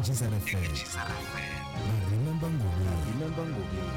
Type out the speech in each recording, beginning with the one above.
Gisar FM na Remember Ngobeni.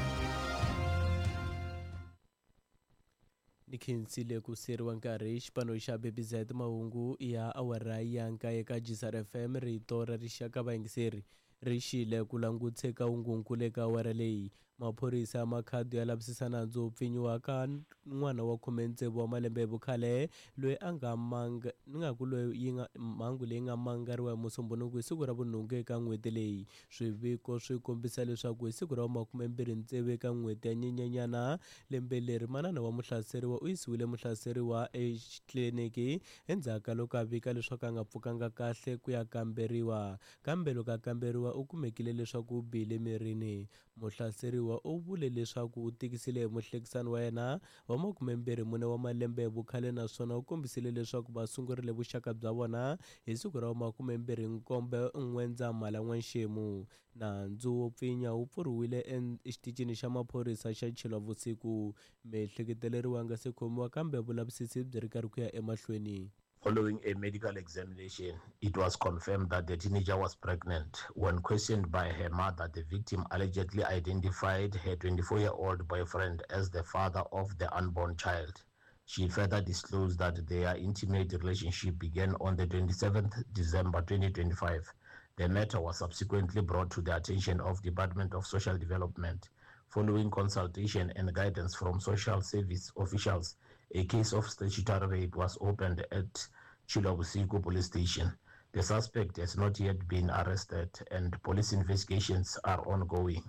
Ni khensile ku siyeriwa nkarhi xipano xa BBZ mahungu ya awara ya nkaye ka Gisar FM rito ra rixaka vayingiseri ri xile ku langutse ka hungunkulu eka awara leyi. Maphorisa ya Makhado ya lavisisa nandzu wo pfinyiwa ka n'wana wa 16 wa malembe hi vukhale loyi a nga manga ni nga ku loyi yi nga mhangu leyi nga mangariwa hi Musumbhunuku hi siku ra vunhungu eka n'hweti leyi. Swiviko swi kombisa leswaku hi siku ra 26 eka n'hweti ya Nyenyenyana lembe leri, manana wa muhlaseriwa u yisiwile muhlaseriwa exitliliniki endzhaku ka loko a vika leswaku a nga pfukanga kahle ku ya kamberiwa. Kambe loko a kamberiwa u kumekile leswaku u bihile mirini. Muhlaseriwa u vule leswaku u tikisile hi muhlekisani wa yena wa 24 wa malembe hi vukhale naswona u kombisile leswaku va sungurile vuxaka bya vona hi siku ra 27 N'wendzamhala n'wanxemu. Nandzu wo pfinya wu pfuriwile exitichini xa maphorisa xa Tshilovhusiku. Miehleketeleriwa a nga se khomiwa kambe vulavisisi byi ri karhi ku ya emahlweni. Following a medical examination, it was confirmed that the teenager was pregnant. When questioned by her mother, the victim allegedly identified her 24-year-old boyfriend as the father of the unborn child. She further disclosed that their intimate relationship began on the 27th December 2025. The matter was subsequently brought to the attention of Department of Social Development. Following consultation and guidance from social service officials, a case of statutory rape was opened at Tshilovhusiku Police Station. The suspect has not yet been arrested and police investigations are ongoing.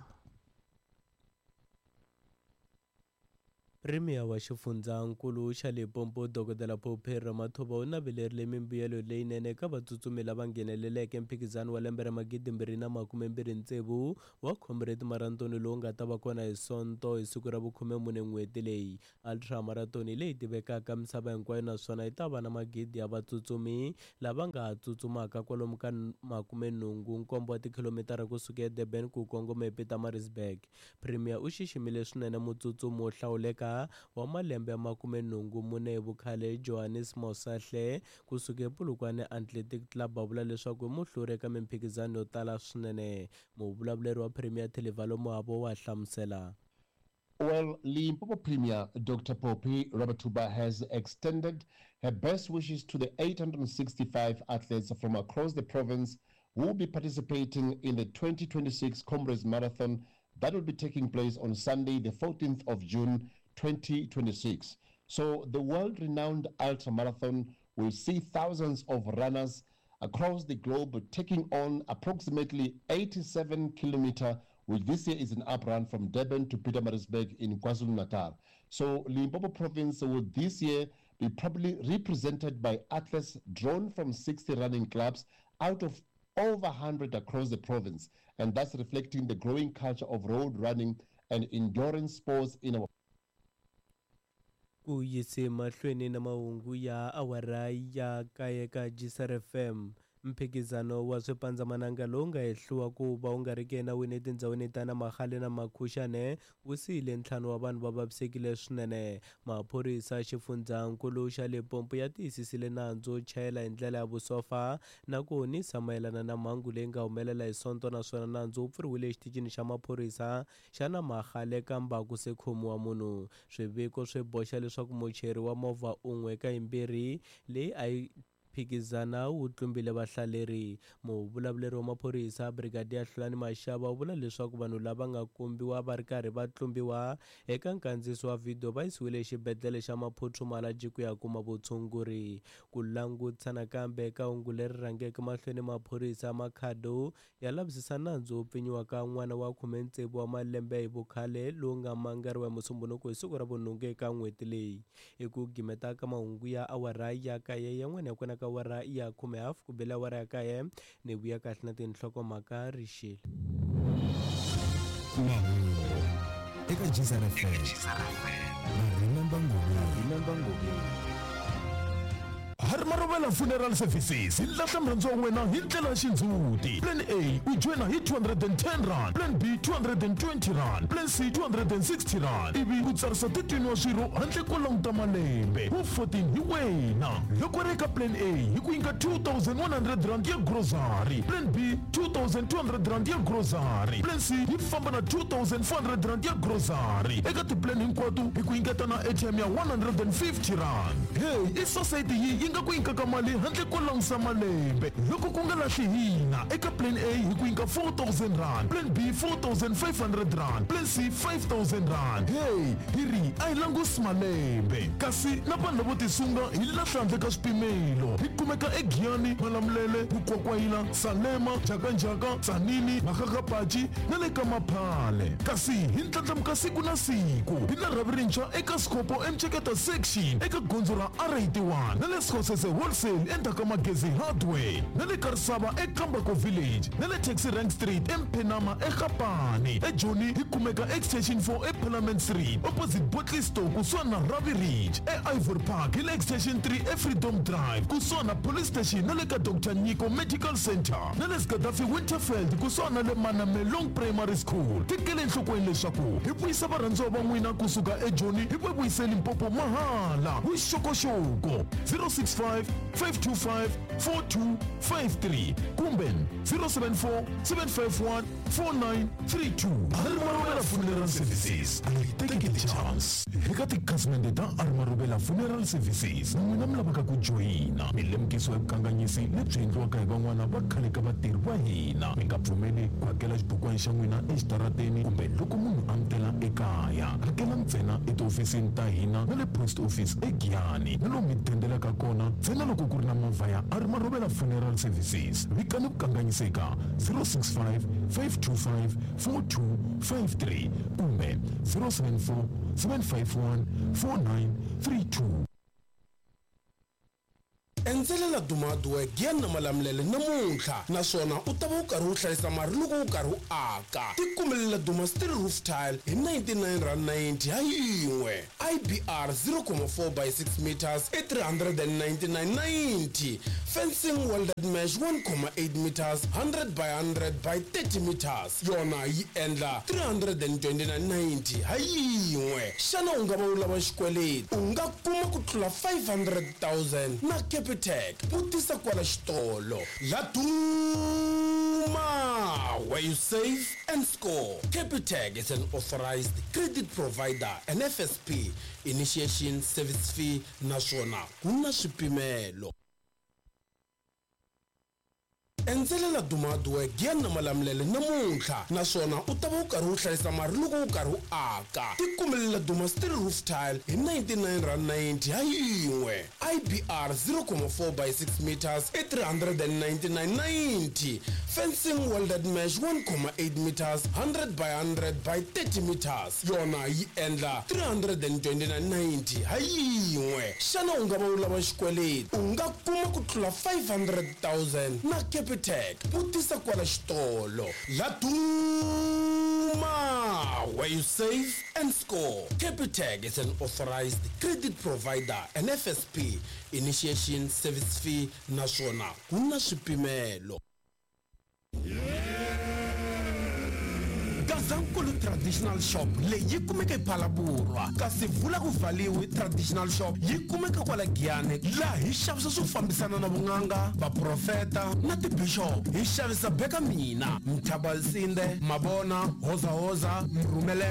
Premier wa xifundzankulu xa Limpopo Dokodela Phophi Ramathuba u navelerile mimbuyelo leyinene eka vatsutsumi lava ngheneleleke mphikizano wa lembe ra 2026 wa Comrade Marathon lowu nga ta va kona hi Sonto hi siku ra vu-14 n'hweti leyi. Ultra Marathon hi leyi tivekaka misava hinkwayo naswona yi ta va na magidi ya vatsutsumi lava nga tsutsumaka kwalomu ka 87 wa tikhilomitara kusuka eDurban ku kongoma ePietermaritzburg. Premier u xiximile swinene mutsutsumi wo hlawuleka wa malembe ya 84 hi vukhale Johannes Mosahle kusuka ePolokwane Athletic Club a vula leswaku i muhluri eka mimphikizano yo tala swinene. Muvulavuleri wa Premier Thelevalo Moabo wa hlamusela. Well, Limpopo Premier Dr. Phophi Ramathuba has extended her best wishes to the 865 athletes from across the province who will be participating in the 2026 Comrades Marathon that will be taking place on Sunday, the 14th of June, 2026. So the world-renowned Ultra Marathon will see thousands of runners across the globe taking on approximately 87 kilometers, which this year is an uprun from Durban to Pietermaritzburg in KwaZulu-Natal. So Limpopo province will this year be probably represented by athletes drawn from 60 running clubs out of over 100 across the province. And that's reflecting the growing culture of road running and endurance sports in our Ku yise mahlweni na mahungu ya awara ya kaye ka Gisar FM. Mphikizano wa swipandzamananga lowu nga hehliwa ku va wu nga ri ki enawini etindhawini ta Namahale na Makhuxane wu siyile ntlhanu wa vanhu va vavisekile swinene. Maphorisa xifundzankulu xa Limpopo ya tiyisisile nandzu wo chayela hi ndlela ya vusofa na ku honisa mayelana na mhangu leyi nga humelela hi Sonto naswona nandzu wu pfuriwile exitichini xa maphorisa xa Namahale kambe a ku se khomiwa munhu. Swiviko swi boxa leswaku muchayeri wa movha un'we eka yimbirhi leyi a yi phikizana wu tlumbile vahlaleri. Muvulavuleri wa maphorisa Brigadier Hlulani Mashaba u vula leswaku vanhu lava nga kombiwa va ri karhi va tlumbiwa eka nkandziyiso wa vhidiyo va yisiwile exibedhlele xa Maphuthu Malatji ku ya kuma vutshunguri. Ku langutisa nakambe eka hungu leri rhangeke mahlweni maphorisa Makhado ya lavisisa nandzu wo pfinyiwa ka n'wana wa 16 wa malembe hi vukhale lowu nga mangariwa hi Musumbhunuku hi siku ra vunhungu eka n'hweti leyi. I ku gimeta ka mahungu ya awara ya kaye yan'wana ya kona ka awara ya khume hafu ku bela awara ya kaye ni vuya kahle na tinhlokomhaka rixile. Mahungu eka Gisar FM na Remember Ngobeni. Hari marovela. Marubela Funeral Services hi lahla murhandziwa wa wena hi ndlela ya xindzhuti. Plan A u joyina hi 210 rand, Plan B 220 rand, Plan C 260 rand, ivi u tsarisa 13 wa swirho handle ko languta malembe. Wu 14 hi wena. Loko ri eka Plan A hi ku nyika 2100 rand ya grocery, Plan B 2200 rand ya grocery, Plan C yi famba na 2400 rand ya grocery. Eka tiplan hinkwato hi ku nyiketa na airtime ya 150 rand. Hey, i society yi yi nga ku nyikaka mali handle ko langusa malembe. Loko ku nga lahli hina eka Plan A hi ku nyika 4000 rand, Plan B 4500 rand, Plan C 5000 rand. Hey, hi ri a hi langusi malembe. Kasi na vanhu lavo tisunga hi lahla handle ka swipimelo. Hi kumeka eGiyani, Malamulele, Mukwakwayila, Salema, Njhakanjhaka, Tzaneen, Makgakgapachi na le ka Maphale. Kasi hi ndlandlamuka siku na siku. Hi na rhavi rintshwa eka Skhopho eMceketa Section eka gondzo ra R81 na le Skhosese Wholesale endzhaku ka Magezi Hardware na le Karisava eKambako Village na le Taxi Rank Street eMphenama eGapane. EJoni hi kumeka Extension 4 eParliament Street opposite Botley Store kusuhani na Ravi Ridge. E-Ivory Park hi le Extension 3 eFreedom Drive kusuhani na Police Station na le ka Dr Nyiko Medical Center na le Gaddafi Winterfeld kusuhani na le Manamelong Primary School. Tekele enhlokweni leswaku hi vuyisa varhandziwa va n'wina kusuka eJoni hi va vuyise Limpopo mahala. Vuxokoxoko 065 525 4253 kumbe 074 751 4932. Armarubela Funeral Services, a yi teki ti-chance. Eka tikhasimende ta Armarubela Funeral Services, n'wina mi lavaka ku joyina mi lemukisiwa hi vukanganyisi lebyi endliwaka hi van'wana va khale ka vatirhi va hina. Mi nga pfumeli ku hakela xibukwana xa n'wina exitarateni kumbe loko munhu a mi tela ekaya. Hakela ntsena etihofisini ta hina na le post office eGiyani na lomu mi dendelaka kona ntsena loko ku ri na movha ya Armarubela Funeral Services. Vikani vukanganyisi eka 065 525 4253 kumbe 074 751 4932. Endzelela Dumaduwe Giyani na Malamulele namuntlha naswona u ta va u karhi u hlayisa mali loko u karhi u aka. Tikumelela Duma Steel Roof Tile hi 99 rand 90 ha yin'we. IBR 0.4 by 6 meters i 399.90. Fencing welded mesh 1.8 meters 100 by 100 by 30 meters yona yi endla 329.90 ha yin'we. Xana u nga va u lava xikweleti? U nga kuma ku tlula 500,000 na Capitec. Vutisa kwala xitolo. Laduma, where you save and score. Capitec is an authorized credit provider and FSP. Initiation service fee naswona ku na swipimelo. Endzelela Dumaduwe Giyani na Malamulele namuntlha naswona u ta va u karhi u hlayisa mali loko u karhi u aka. Tikumelela Duma Steel Roof Tile hi 99 rand 90 ha yin'we. IBR 0.4 by 6 meters i 399.90. Fencing welded mesh 1.8 meters 100 by 100 by 30 meters yona yi endla 329.90 ha yin'we. Xana u nga va u lava xikweleti? U nga kuma ku tlula 500,000 na Capitec. Vutisa kwala xitolo. Laduma, where you save and score. Capitec is an authorized credit provider and FSP. Initiation service fee naswona ku na swipimelo. Gazankulu Traditional Shop leyi yi kumeka ePhalaborwa, kasi Vula ku Valiwe Traditional Shop yi kumeka kwala Giyani, laha hi xavisa swo fambisana na vun'anga, vaprofeta na tibishop. Hi xavisa Beka Mina, Mthabalsinde, Mabona, Hozahoza, Mrhumelele.